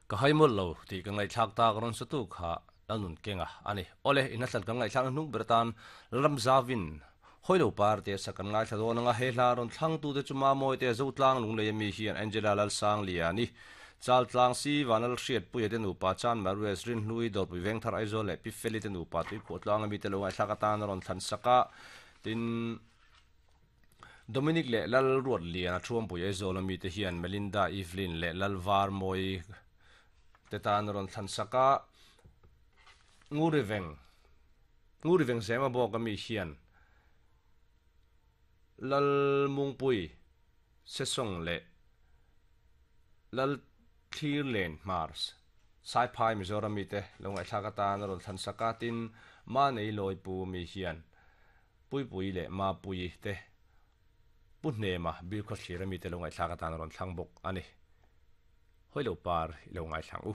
Ka hai mawlh lo tih ka ngaihthlak tak rawn satu kha Lalnun Kenga a ni. Awle, in hla kan ngaihthlakna hnung ber atan Lalramzavin Hawilo Par tia sak kan ngaithla dawn anga he hla rawn thlangtute chu Mamawi te Zotlang Lunglei ami hian Angela Lalsangliani, Chaltlang Si Vanlal Hriatpuia te nupa Chan Marues Rinhlui Dawrpui Vengthar Aizawl leh Pi Feli te nupa Tuikhuahtlang ami te lo ngaihthlak atan a rawn thlan sak a, tin, Dominic leh Lal Ruatliana Thuampui Aizawl ami te hian Melinda Evelyn leh Lal Varmawi te tan a rawn thlan sak a, Nguriveng Nguriveng Zema bawk ami hian Lal Mungpui Sesawng leh Lal Thlirlen Hmars Saiphai Mizoram mi te lo ngaihthlak atan a rawn thlan sak a, tin Manei Lawipu mi hian Puipui leh Mapuii te Pu Hnema Bilkhawthlir a mite lo ngaihthlak atan a rawn thlang bawk a ni. Hawi lo par i lo ngaithlang u.